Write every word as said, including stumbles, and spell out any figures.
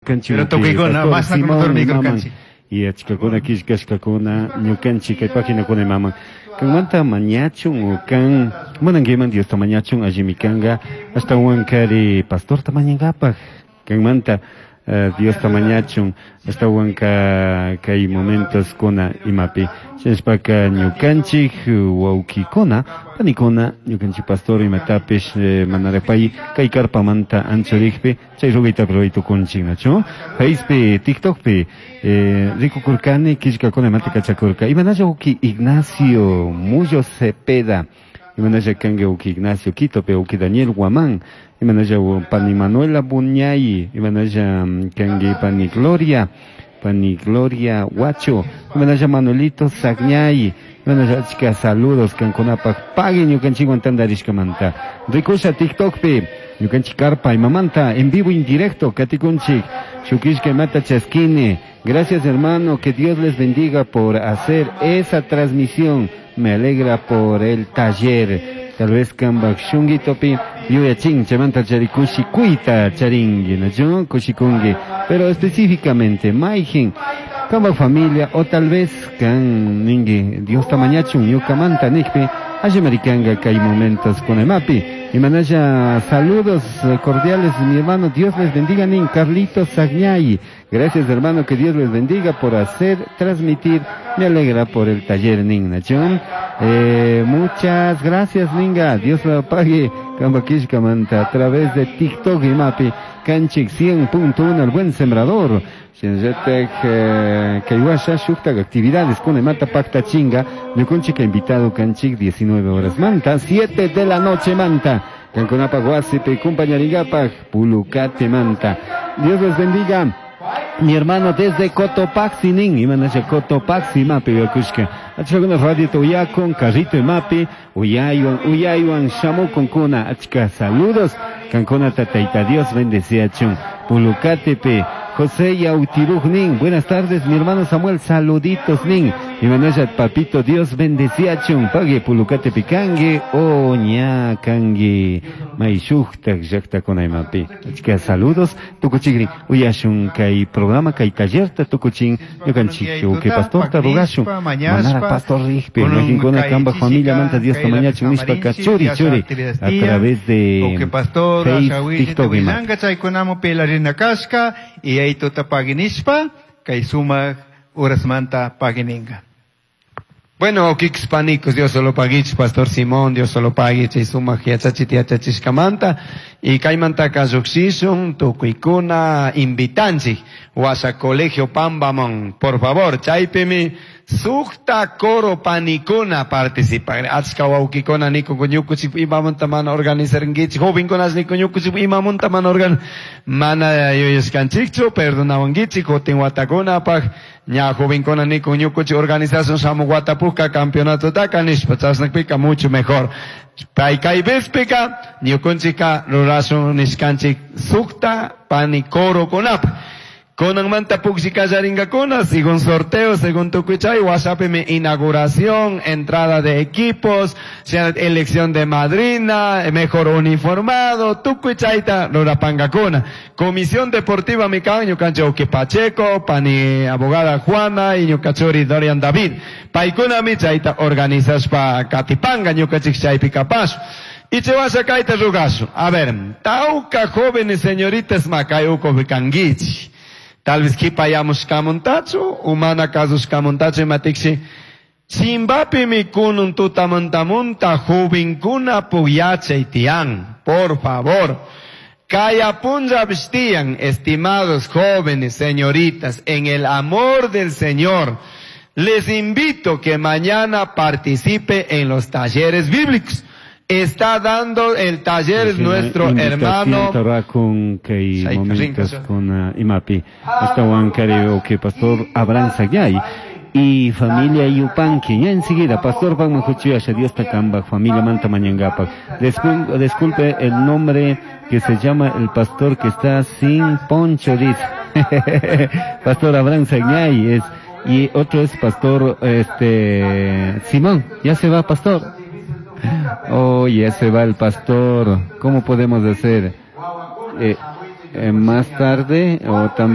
Ñukanchik Pero tukuykuna, Pastor masna Simón dormikurkanchik. imaman y achkakuna killkashkakuna ñukanchik kay paginakuna imaman kanmanta mañachun o kan munankiman Diosta mañachun allimi kanka ashtawankari pastorta mañankapaj kanmanta eh, Diosta mañachun ashtawanka kay momentos kuna imapi shinashpaka ñukanchik wawkikuna panikuna ñukanchik pastor imatapish eh, manarapay kay karpamanta anchurikpi chay rugaytapi ruray tukunchik nachu Facepi TikTokpi eh, rikukurkani killkakuna imata kachakurka imanalla wawki Ignacio Mullo Cepeda imanalla kanki wawki Ignacio Quitopi wawki Daniel Guamán imanalla pani Manuela Buñay imanalla mm, kanki pani Gloria pani Gloria Huacho imanalla Manuelito Sagñay imanalla achka saludos kankunapaj pagui ñukanchikwan tantarishkamanta rikusha TikTokpi ñukanchik karpa imamanta en vivo en directo katikunchik shukishka imata chaskini. Gracias, hermano, que Dios les bendiga por hacer esa transmisión. Me alegra por el taller. Tal vez kambak shunguitopi yuyachin chaymanta chari kushikuyta charingi, ¿no? Kushikungi. Pero específicamente, mayjin, kambak familia, o tal vez kan ningi, Diosta mañachun ñukamanta nikpi, allimarikanga kay momentos con el mapi. Y manaya saludos eh, cordiales, mi hermano, Dios les bendiga, nin Carlitos Sagñay. Gracias, hermano, que Dios les bendiga por hacer, transmitir. Me alegra por el taller, nin Nachón. Eh, muchas gracias, ninga. Dios lo pague. Kambakishkamanta a través de TikTok y Mapi. Kanchik cien punto uno, el buen sembrador. Shinallatak, eh, kay washa shuktak actividades con mata pacta chinga. Ñukunchik invitado kanchik diecinueve horas manta, siete de la noche manta. Kankunapa wasipi kumpañaringapaj pulucate manta. Dios les bendiga. Mi hermano desde Cotopaxi, nin, imanasha Cotopaxi, mapi, yakushka. Achkakuna radio uyakon, carrito y mapi, uyaywan, uyaywan, shamukun kuna, achka saludos. Kankuna tataita Dios bendeciachun. Pulucatepe, José Yautiruj, nin, buenas tardes, mi hermano Samuel, saluditos, nin. Imanasha papito Dios bendeciachun. Pague Pulucatepe kangue, o ña kangue, maishuktak llakta kunaymapi. Achka saludos, tukuchigri, uyashun kay programa kay tallerta tukuchin, ñukanchik uke pastorta rugashun, manara pastor rikpi, majinkuna kamba familia manta Dios tamañachun nishpa ka churi churi, a través de Uke pastor, Face, ashawishi, TikTok ima. willanka chaykunamu pelarina kashka, y ahí tuta paginishpa, kay sumak urasmanta pagininga. Bueno, Kix Panicos, Dios solo paguich, Pastor Simón, Dios solo paguich, y suma yachachit yachachishkamanta, y kaymanta kayuxishun, tukuykuna invitanchik, washa colegio Pambamon, por favor, chaypimi, sukta coro panikuna participa, achka wawkikuna niku ñukuchik imamunta mana organizarinkichik, jovenkunas niku ñukuchik imamunta mana organ, mana yuyashkanchikchu, perdonawankichik, kutin watakunapaj, ña jovenkuna niku ñukuchik organización shamuq watapujka campeonato taka nishpa, chashnakpika mucho mejor. Pay kay vespika, ñukunchika rurashun nishkanchik sukta pani coro kunapaj. Kunanmanta puksi kallaringakuna, según sorteo, según tukuy WhatsApp mi inauguración, entrada de equipos, elección de madrina, mejor uniformado, tukuy chayta rurapangakuna. Comisión Deportiva mi kan, ñukanchik Uki Pacheco, pani abogada Juana y ñukachuri Dorian David. Paykuna mi chayta organizashpa katipanga ñukanchik chaypi kapash. Y che vas a kaita rugasu. A ver, tauka jóvenes señoritas makay uko kangichi. Tal vez kipayamus kamuntachu, umana kasus kamuntachu imatiksi. Chimbapi mi kunun tutamuntamunta juvinkuna puyachay tian. Por favor. Kaya punja vestian, estimados jóvenes, señoritas, en el amor del Señor. Les invito que mañana participe en los talleres bíblicos. Está dando el taller Sí, nuestro invitación hermano con kay Say, momentos rinka, con uh, imapi hasta kari que pastor Abraham Sagyay y familia Yupanqui. Ya enseguida, pastor Pagman Juchuyasha, Dios takamba, familia Manta Mañangapa. Discul- disculpe el nombre que se llama el pastor que está sin poncho, dice. Pastor Abraham Sagyay es, y otro es pastor, este, Simón. Ya se va, pastor. Oh, ya se va el pastor. ¿Cómo podemos hacer? Eh, eh, más tarde o también